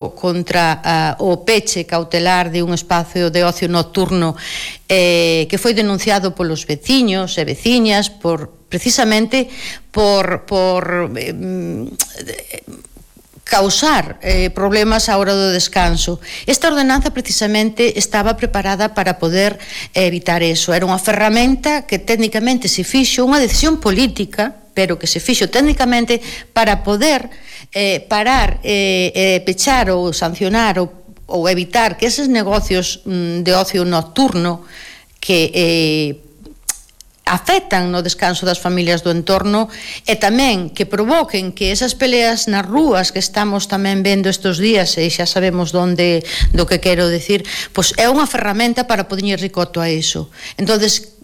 contra o peche cautelar de un espacio de ocio nocturno que foi denunciado polos veciños e veciñas precisamente por causar problemas á hora do descanso. Esta ordenanza precisamente estaba preparada para poder evitar eso. Era unha ferramenta que técnicamente se fixo, unha decisión política, pero que se fixo técnicamente para poder parar, pechar ou sancionar ou evitar que eses negocios de ocio nocturno que afectan no descanso das familias do entorno e tamén que provoquen que esas peleas nas rúas que estamos tamén vendo estes días, e xa sabemos do que quero decir, pois é unha ferramenta para poñer ricoto a iso. Entonces,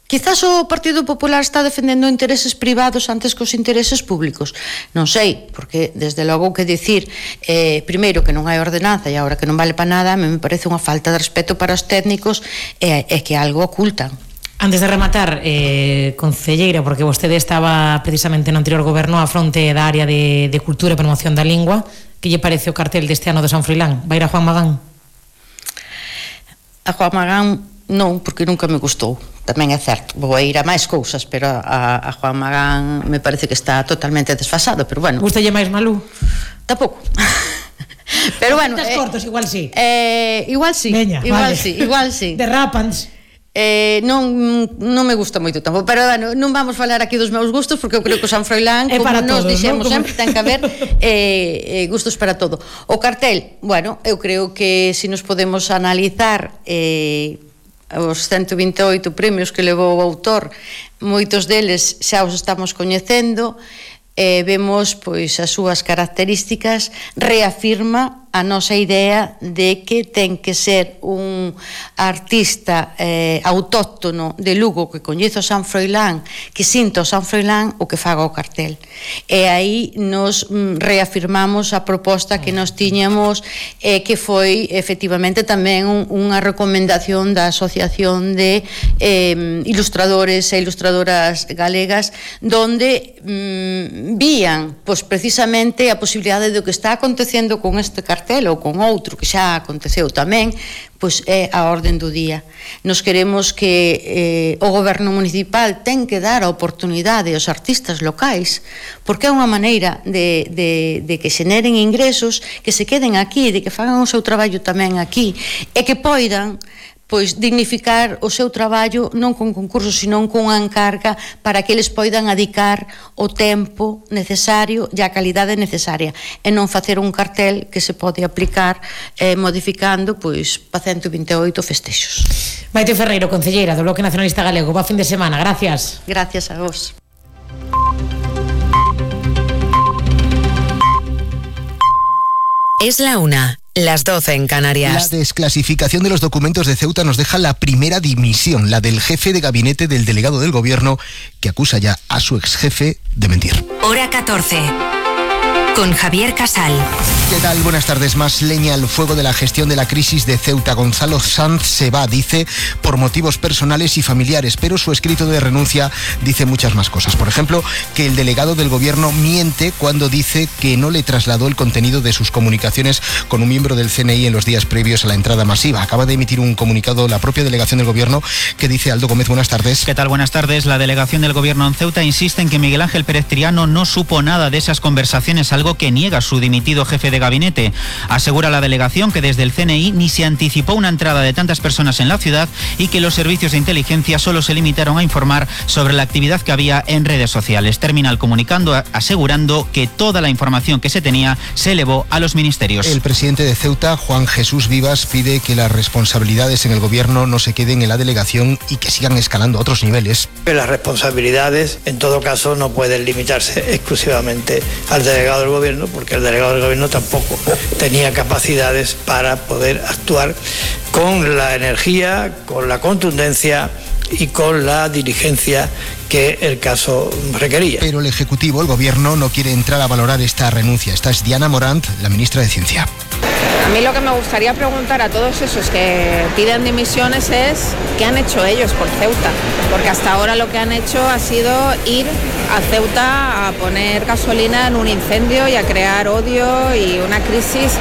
quizás o Partido Popular está defendendo intereses privados antes que os intereses públicos. Non sei, porque desde logo que dicir primeiro que non hai ordenanza e agora que non vale para nada, me parece unha falta de respeto para os técnicos e que algo ocultan. Antes de rematar, concelleira, porque vostede estaba precisamente no anterior goberno á fronte da área de cultura e promoción da lingua, que lle parece o cartel deste ano de San Froilán? Vai ir a Juan Magán? A Juan Magán non, porque nunca me gustou. Tamén é certo, vou ir a máis cousas, pero a Juan Magán me parece que está totalmente desfasado, pero bueno. Gustalle máis Malú? Tampouco. Pero bueno, cortos, igual sí. Igual sí. Veña, igual vale. sí, igual sí. Derrápans. Non me gusta moito tampouco, pero bueno, non vamos falar aquí dos meus gustos, porque eu creo que o San Froilán, como nos dixemos sempre, ten que haber gustos para todo. O cartel, bueno, eu creo que se nos podemos analizar os 128 premios que levou o autor, moitos deles xa os estamos coñecendo, vemos pois as súas características, reafirma a nosa idea de que ten que ser un artista autóctono de Lugo que coñece o San Froilán, que sinta o San Froilán o que faga o cartel. E aí nos reafirmamos a proposta que nos tiñamos que foi efectivamente tamén unha recomendación da Asociación de Ilustradores e Ilustradoras Galegas, donde vían pois precisamente a posibilidade do que está acontecendo con este cartel ou con outro que xa aconteceu tamén, pois é a orden do día. Nos queremos que o goberno municipal ten que dar a oportunidade aos artistas locais, porque é unha maneira de que xeneren ingresos, que se queden aquí, de que fagan o seu traballo tamén aquí, e que poidan pois dignificar o seu traballo non con concursos, senón con unha encarga para que eles poidan adicar o tempo necesario e a calidade necesaria e non facer un cartel que se pode aplicar modificando pois pa 128 festexos. Maite Ferreiro, concelleira do Bloque Nacionalista Galego, bo fin de semana, gracias. Gracias a vos. Es la 1. Las 12 en Canarias. La desclasificación de los documentos de Ceuta nos deja la primera dimisión, la del jefe de gabinete del delegado del gobierno, que acusa ya a su exjefe de mentir. Hora 14. Con Javier Casal. ¿Qué tal? Buenas tardes. Más leña al fuego de la gestión de la crisis de Ceuta. Gonzalo Sanz se va, dice, por motivos personales y familiares, pero su escrito de renuncia dice muchas más cosas. Por ejemplo, que el delegado del gobierno miente cuando dice que no le trasladó el contenido de sus comunicaciones con un miembro del CNI en los días previos a la entrada masiva. Acaba de emitir un comunicado la propia delegación del gobierno que dice: Aldo Gómez, buenas tardes. ¿Qué tal? Buenas tardes. La delegación del gobierno en Ceuta insiste en que Miguel Ángel Pérez Triano no supo nada de esas conversaciones, algo que niega su dimitido jefe de gabinete. Asegura la delegación que desde el CNI ni se anticipó una entrada de tantas personas en la ciudad y que los servicios de inteligencia solo se limitaron a informar sobre la actividad que había en redes sociales. Termina el comunicando asegurando que toda la información que se tenía se elevó a los ministerios. El presidente de Ceuta, Juan Jesús Vivas, pide que las responsabilidades en el gobierno no se queden en la delegación y que sigan escalando a otros niveles. Las responsabilidades, en todo caso, no pueden limitarse exclusivamente al delegado del gobierno, porque el delegado del gobierno tampoco tenía capacidades para poder actuar con la energía, con la contundencia y con la diligencia que el caso requería. Pero el Ejecutivo, el Gobierno, no quiere entrar a valorar esta renuncia. Esta es Diana Morant, la ministra de Ciencia. A mí lo que me gustaría preguntar a todos esos que piden dimisiones es ¿qué han hecho ellos por Ceuta? Porque hasta ahora lo que han hecho ha sido ir a Ceuta a poner gasolina en un incendio y a crear odio y una crisis